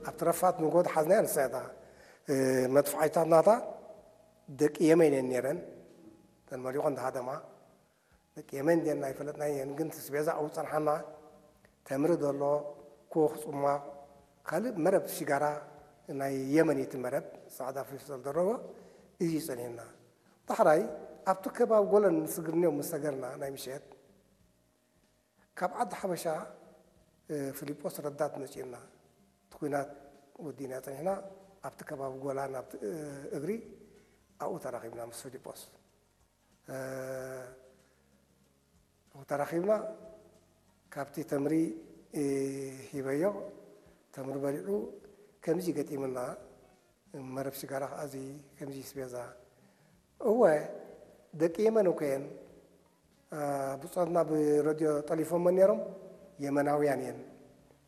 ኣብቲ ረፋት ንጎ ሓዝናያ ንሳታ መጥፍዓይታት ናታ ደቂ የመን እየን ነይረን። ተን መሊቖን ዝሃደማ ደቂ የመን ድየን ኣይፈለጥናን እየን፣ ግን ትስቤዛ ኣብኡ ጸንሓና። ተምሪ ዘሎ፣ ኮኽ፣ ጽሟቕ፣ ካልእ መረብ ሽጋራ ናይ የመን እዩ እቲ መረብ፣ ጻዕዳ ፌስታል ደረቦ፣ እዚ ጸኒሕና። ዳሕራይ ኣብቲ ከባቢ ጎለን ስግርንዮም ምስ ሰገርና ናይ ምሸት፣ ካብ ዓዲ ሓበሻ ፊሊጶስ ረዳት መጺኡና። እቲ ኲናት ወዲእና ጸኒሕና፣ ኣብቲ ከባቢ ጎላን ኣብቲ እግሪ ኣብኡ ተራኺብና ምስ ፊሊጶስ። ተራኺብና፣ ካብቲ ተምሪ ሂበዮ፣ ተምሪ በሊዑ፣ ከምዚ ገጢምና፣ መረብ ሽጋራ ከኣ እዚ ከምዚ ስቤዛ። እወ፣ ደቂ የመን እኮ እየን። ብጾትና ብረድዮ ጠሊፎሞ ነይሮም፣ የመናውያን እየን።